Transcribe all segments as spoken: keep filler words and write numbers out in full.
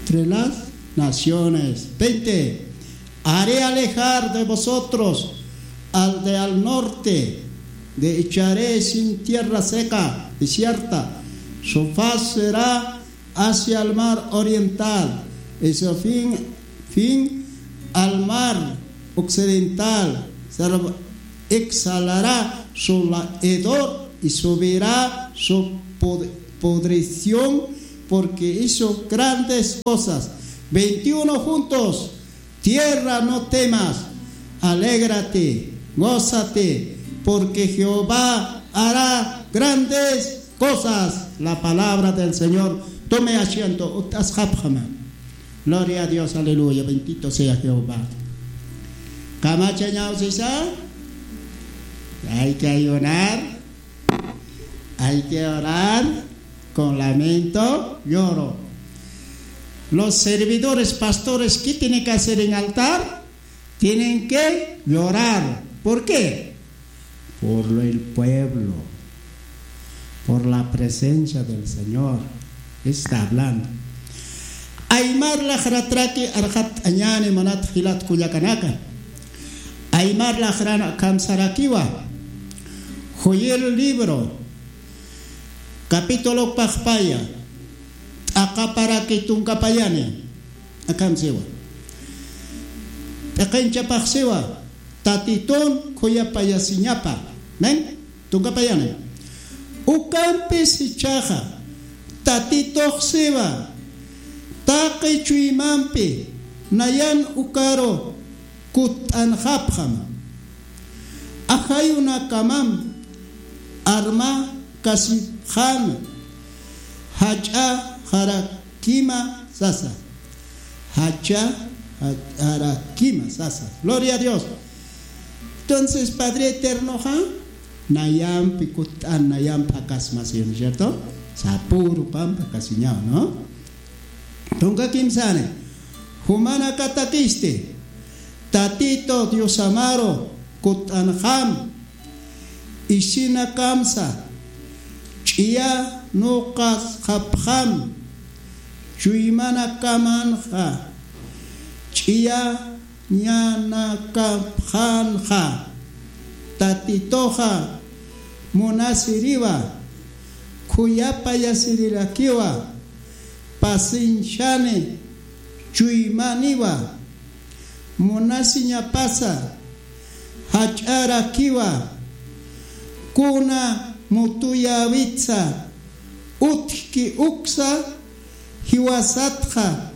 entre las naciones. Veinte. Haré alejar de vosotros al de al norte, de echaré sin tierra seca, desierta. Su faz será hacia el mar oriental, y su fin, fin al mar occidental. Se exhalará su hedor y subirá su podrición, porque hizo grandes cosas. Veintiuno juntos. Tierra, no temas, alégrate, gózate, porque Jehová hará grandes cosas. La palabra del Señor. Tome asiento, ut'asxapxama. Gloria a Dios, aleluya, bendito sea Jehová. Kamachañaw sisa, hay que ayunar, hay que orar con lamento, lloro. Los servidores, pastores, ¿qué tienen que hacer en altar? Tienen que llorar. ¿Por qué? Por lo, el pueblo, por la presencia del Señor. Está hablando. Aymar laqratraki arxat añani manat jilat kullakanaka. Aymar laqran akamsarakiwa. Joel libro, capítulo paxpaya, t'aqaparaki tunkapayani. Akamsiwa. P'iqinchapaxsiwa. Tatitun khuyapayasiñapa. Men? Tunkapayani. Ukampis jichhaxa, Tatituxsiwa, taqi chuymampi nayan ukaru kutt'anxapxam. Ajayunakamam armakasipxäna, jach'a jarakima sasa. Jach'a jarakima sasa. Gloria a Dios. Entonces, Padre Eternoxa, nayampi kutt'an, nayampi jakasmasiñaw, ¿cierto? Sapüru pampi jakasiñaw, ¿no? Tunka kimsani, jumanakatakisti, Tatito Diosamaru kutt'anxam, isinakamsa, ch'iyanuqasxapxam, chuymanakamanxa, ch'iyañanakapxanxa, Tatituxa munasiriwa, khuyapayasirirakiwa, pasinchani chuymaniwa, munasiñapasa, jach'arakiwa, kuna mutuyäwitsa, utjki uksa, jiwasatxa,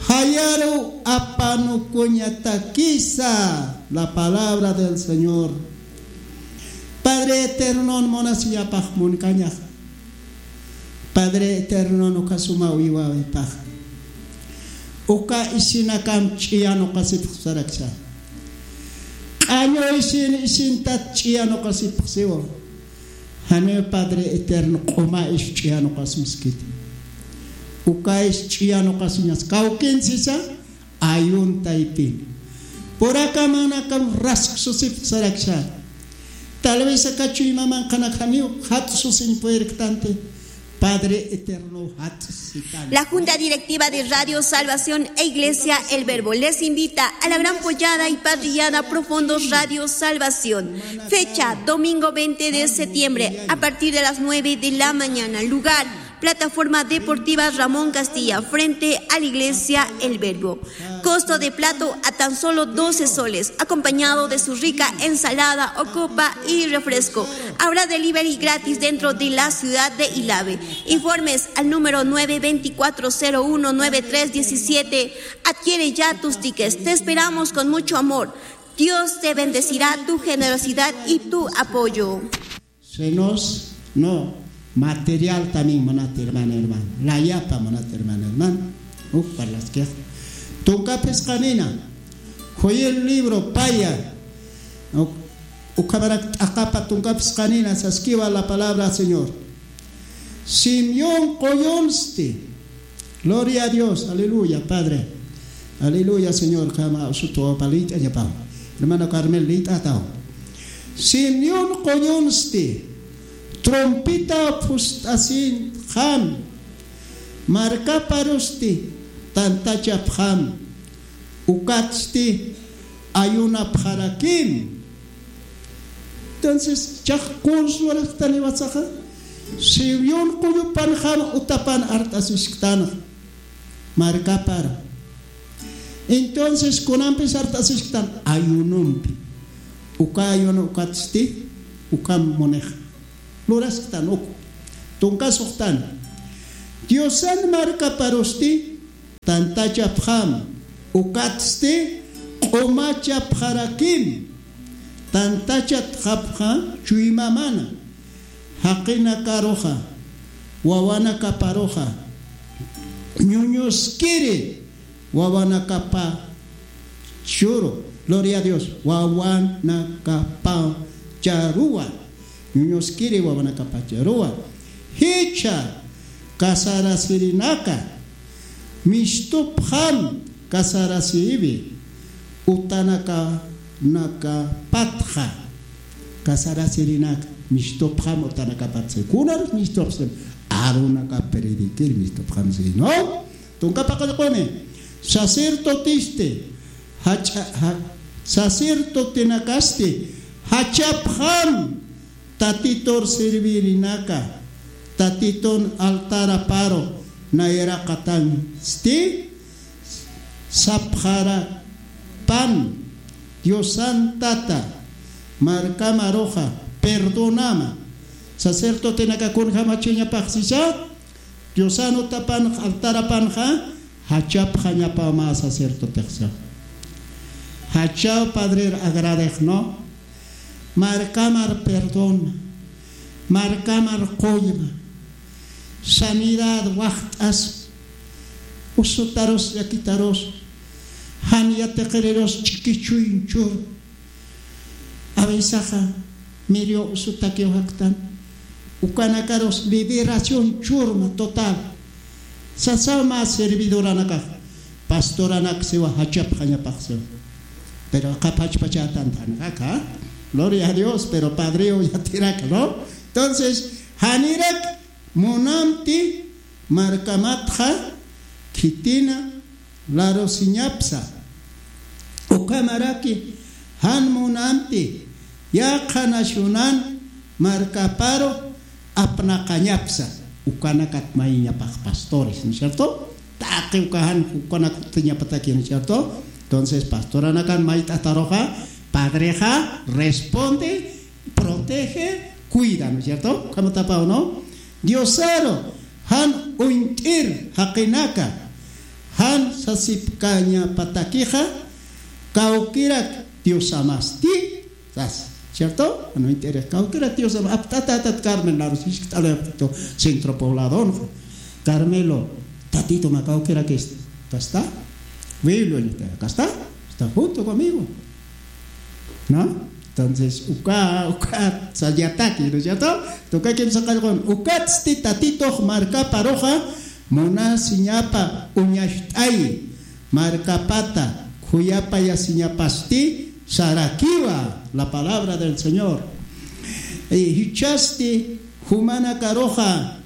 jayaru apanukuñatakisa. La palabra del Señor. Padre Eternon munasiñapax munkañax. Padre Eternon uka suma uywawipax. Uka isinakam ch'iyanuqasipxsaraksa. Q'añu isin isintat ch'iyanuqasipxsiwa. Janiw Padre Eterno q'uma isch'iyanuqasmaskiti. Uka isch'iyanuqasmas. Kawkin sisa, ayuntaypin. Purakamanakam rasksusipxsaraksa. Tal vez aka chuymamanqanak janiw jat'susin purirktanti. Padre Eterno jat'sitan. La Junta Directiva de Radio Salvación e Iglesia El Verbo les invita a la gran pollada y parrillada Profundos Radio Salvación. Fecha, domingo veinte de septiembre, a partir de las nueve de la mañana. Lugar, Plataforma Deportiva Ramón Castilla, frente a la Iglesia El Verbo. Costo de plato a tan solo doce soles, acompañado de su rica ensalada o copa y refresco. Habrá delivery gratis dentro de la ciudad de Ilave. Informes al número nueve veinticuatro cero uno nueve tres diecisiete. Adquiere ya tus tickets. Te esperamos con mucho amor. Dios te bendecirá tu generosidad y tu apoyo. Senos, no, material también munat hermana, hermano. Layapa munat hermana, hermano. Uk parlaskix. Tunka phisqanina. Joel libro paya. Uk-, ukhamarak t'aqapa tunka phisqanina saskiwa la palabra Señor. Simeón quyunsti. Gloria a Dios, aleluya, Padre. Aleluya, Señor, kama usutuwa palita ñapaw. Hermano Carmel, lit'ataw. Simeón quyunsti, trompeta phust'asinxam, markaparusti, tantachapxam, ukatsti ayunapxarakim. Entonces, chax qursu lurasktan iwasaxa, siwiyun qullupanxam utapan art'asisktanxa, markapar. Entonces, kunampis art'asisktan ayunumpi. Uka ayuno ukatsti, ukam munex. Lurasktan uk. Tunkasuxtan. Diosan markaparusti, tantachapxam, ukatsti q'umachapxarakim, tantachatxapxa chuymamana, jaqinakaruxa, wawanakaparuxa, ñuñuskiri, wawanakapa churu, gloria a Dios, wawanakapacharuwa, ñuñuskiri wawanakapacharuwa, jichha kasarasirinaka, mistupxam kasarasiwi, utanaka, nakapatxa, kasarasirinaka, mistupxam utanakapatxa, kunar mistupxam, arunaka predikir mistupxam, sino, tunka paqallquni, sacerdotesti, jach'a, ja-, sacerdotenakasti, jachapxam, Tatitur servirinaka, Tatitun altaraparu nayraqatansti, sapxarapan, Diosan Tata, markamaruxa, perdonama, sacerdotenaka kunjamachiñapaxsisa, Diosan utapan, altarapanxa, jachapxañapaw mä sacerdotexsa. Jachaw Padrer agradexno, markamar perdón, markamar qullma, sanidad waxt'as, usutarus, llakitarus, jan yatiqirirus ch'ikichuynchur, Avisaxa, mirio usutakiw jaktan, ukanakarus liberación churma total. Sasaw mä servidoranakax, pastoranak siwa jachapxañapax siwa. Pero qapachpachatan tanqaka, gloria a Dios, pero padriw yatirak, ¿no? Entonces, janirak munamti markamatxa khitina larusiñapsa. Ukhamaraki jan munamti yaqha nacionan markaparu apnaqañapsa. Ukanakat mayiñapax pastores, ¿no es cierto? Taqi uka jan ukanak jutiñapataki, ¿no es cierto? Entonces, pastoranakan mayt'ataruxa, padrexa responde, protege, cuida, ¿no es cierto? Ukhamatapaw, ¿no? Diosaru jan uñt'ir jaqinaka, jan sasipkañapatakixa, kawkirak Diosamasti, sas, ¿cierto? Jan uñt'ir kawkirak Diosamasti, apt'atatat Carmen larusiskta, Centro Pobladonxa. Carmelo, Tatito mä kawkirak, ¿casta? Wilio, ¿casta? Está junto conmigo. ¿No? Entonces, uka, uka, sayataki, ¿no es cierto? Tuka kimsa qallqun, ukatsti Tatitux markaparuxa munasiñapa uñacht'ayi, markapata khuyapayasiñapasti sarakiwa, la palabra del Señor. Y jichhasti jumanakaruxa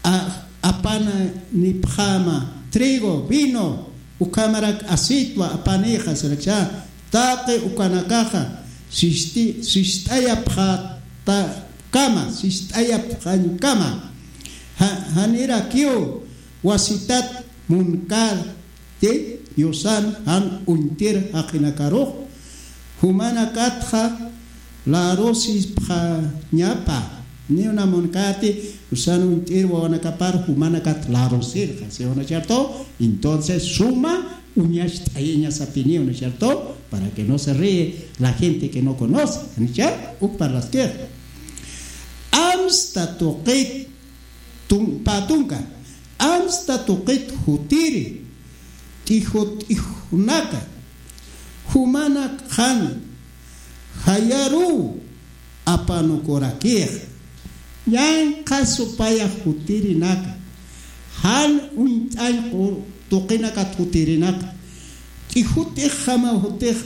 a-, apanipxäma trigo, vino, ukhamarak aceitwa apanixa, saraksha, taqi ukanakaxa, sisti-, sist'ayapxatakama, sist'ayapxañkama, ja-, janirakiw wasitat munkar, ti, Diosan jan uñtir jaqinakarux, jumanakatxa larusipxañapa, ni una munkati, Diosan uñtir wawanakapar jumanakat larusirxa, ¿sí o no es cierto? Entonces, suma uñacht'ayiñasapiniw, ¿no es cierto? Para que no se ríe la gente que no conoce, ¿no es cierto? Uk parlaskix. Amsta tuqit tun-, pä tunka, amsta tuqit jutiri, t'ijut'ijunaka, jumanak jan jayaruw apanukurakix, yanqa supaya jutirinaka, jan uñt'añ qu-, tuqinakat jutirinaka, t'ijut'ijjamaw jutix,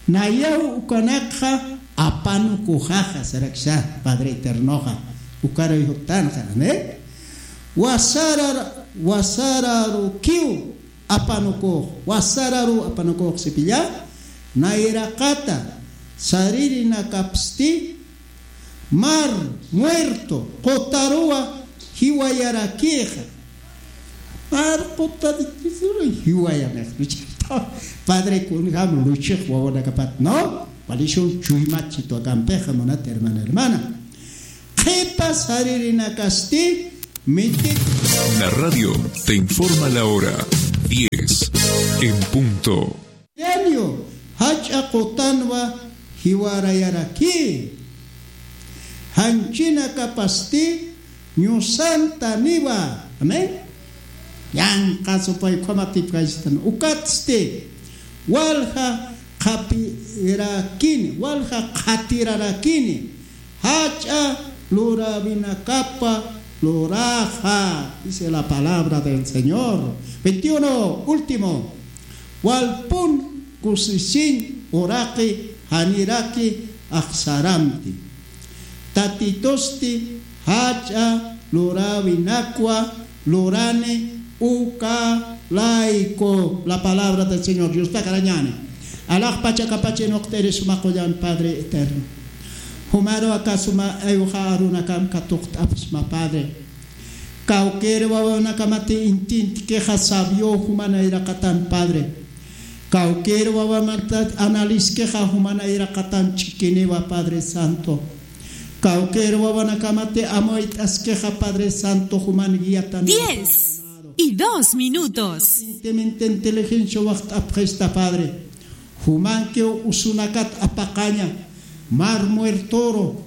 nayaw ukanakxa apanukuxaxa, saraksa Padre Eternoxa, ukaruy juttanxa, amén. Wasarar-, wasararukiw apanukux, wasararu apanukux sipilla, nayraqata saririnakapsti, mar muerto qutaruwa jiwayarakixa. Mar qutarikiru jiwayanix luchito. Padre kunjam luchix wawanakapat, ¿no? Walishun chuymat chitwakampixa munat hermana, hermana. Qhipa saririnakasti miti. La radio te informa la hora, diez en punto. Yanio, jach'a qutanwa jiwarayaraki. Janchinakapasti ñusantaniwa. Amén. Yanqasupay ukhamatipkaysitan. Ukatsti walja qhapirakini, walja qhatirarakini. Jach'a luräwinakapa luraxa, dice la palabra del Señor. Veintiuno, último. Walpun kusisiñ uraqi janiraki axsaramti. Tatitusti jach'a luräwinakwa lurani uka layku. La palabra del Señor. Diostakarañani. Alaxpach akapach inuqt'iri suma qullan Padre eterno. Jumaru aka suma ayuxa arunakam katuqt'apxsma Padre. Kawkïr wawanakamati intintkixa sabio juman ayraqatan Padre. Kawkïr wawamata analiskixa juman ayraqatan ch'ikiniwa Padre Santo. Kawkïr wawanakamati amuyt'askixa Padre Santo juman guiatan. Diez y dos minutos. Inteligencia waxt'apxista Padre. Jumankiw usunakat apaqaña, mar muertoro,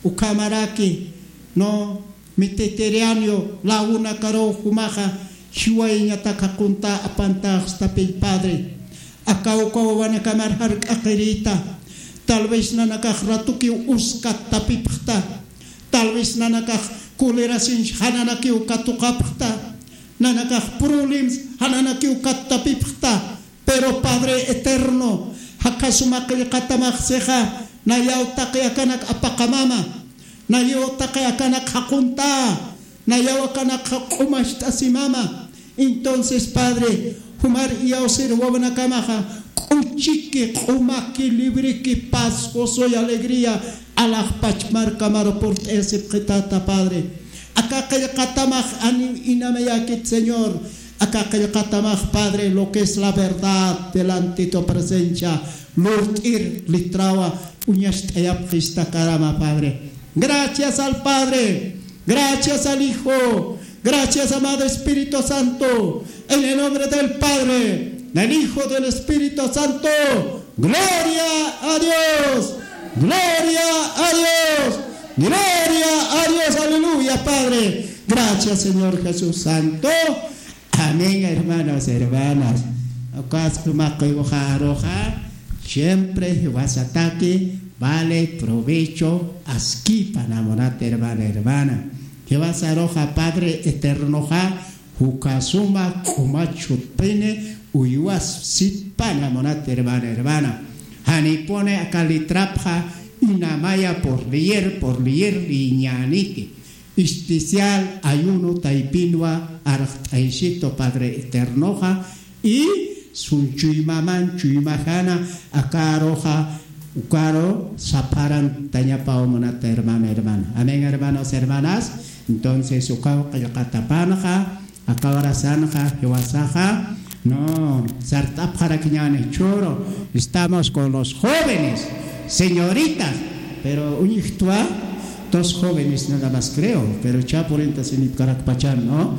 ukhamaraki, no, Mediterráneo lawunakaruw jumaxa jiwayañatak jaquntá apantaxstapiy Padre. Aka uka wawanakamar jark'aqirïta. Tal vez nanakax ratukiw uskat tapipxta. Tal vez nanakax colerasiñ jananakiw katuqapxta. Nanakax problemas jananakiw kat tapipxta. Pero Padre eterno, jaka suma qillqatamax sixa, nayaw taqi akanak apaqamama, nayaw taqi akanak jaquntá, nayaw akanak q'umacht'asimama. Entonces, Padre, jumar iyawsir wawanakamaxa, k'uchiki, q'umaki, libriki, paz, gozo y alegría, alaxpach markamaru purt'ayasipxitata, Padre. Aka qillqatamax aniw inamayakit, Señor. Aka qillqatamax, Padre, lo que es la verdad delante de tu presencia. Lurt'ir litrawa uñacht'ayapxista karama, Padre. Gracias al Padre. Gracias al Hijo. Gracias, amado Espíritu Santo. En el nombre del Padre, del Hijo, del Espíritu Santo. Gloria a Dios. Gloria a Dios. Gloria a Dios. Aleluya, Padre. Gracias, Señor Jesús Santo. Amén, hermanos, hermanas. Ukas jumaqiwxaruxa, siempre jiwasataki vale provecho askipana munat, hermana, hermana. Jiwasaruxa Padre Eternoxa, jukasuma q'umach jutpini uywas sitpana munat, hermana, hermana. Janipuni aka litrapxa inamaya por leer, por leer liñäniti. Especial ayuno taypinwa arxt'aysitu Padre Eternoxa, y sunchuymaman chuymajana akaruxa, ukaru sapharantañapaw munat, hermana, hermana. Amén, hermanos, hermanas. Entonces, ukaw qillqatapanxa, aka horasanxa, jiwasaxa, no, sart'apxarakiñäni, choro, estamos con los jóvenes, señoritas, pero uñjtwa, dos jóvenes nada más creo, pero cha purinta sinipkarakpachan, ¿no?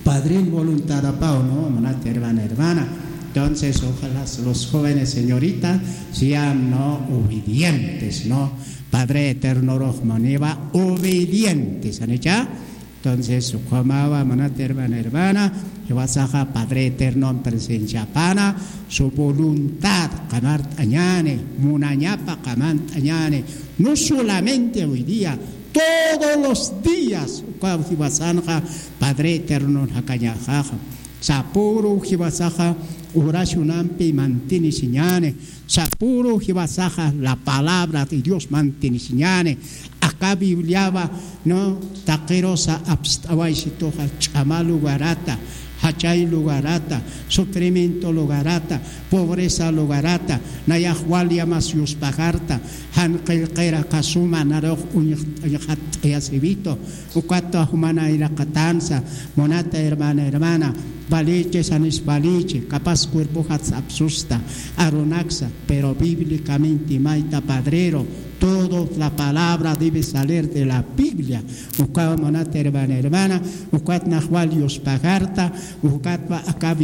Padrin voluntad apaw, ¿no? Munat, hermana, hermana. Entonces, ojalá los jóvenes, señoritas, sean, ¿no? Obedientes, ¿no? Padre Eterno Rohmaniva, obedientes, ¿han hecho? Entonces, ukhamawa munat, hermana, hermana, jiwasaxa Padre Eterno presenciapana, su voluntad qamart'añäni, munañapa qamart'añäni, no solamente hoy día, todos los días, ukaw jiwasanxa Padre Eterno jakañaxaxa. Sapuru jiwasaxa oracionampi mantenisiñani. Sapuru jiwasaxa la palabra de Dios mantenisiñani. Aka Bibliawa, no, taqirusa apst'awaysituxa ch'ama lugarata, jachay lugarata, sufrimiento lugarata, pobreza lugarata, nayax wal yamas yuspajarta, jan qillqira kasuma narux uñxatt'ayasiwitu. Ukatwa jumana iraqatansa, munata hermana, hermana, valichi, sanis valichi, capaz cuerpojat sapsusta, arunaksa, pero bíblicamente mayta padrero, todo la palabra debe salir de la Biblia. Ukawa munata hermana, hermana, ukat naxwal yuspajarta, ukatwa aka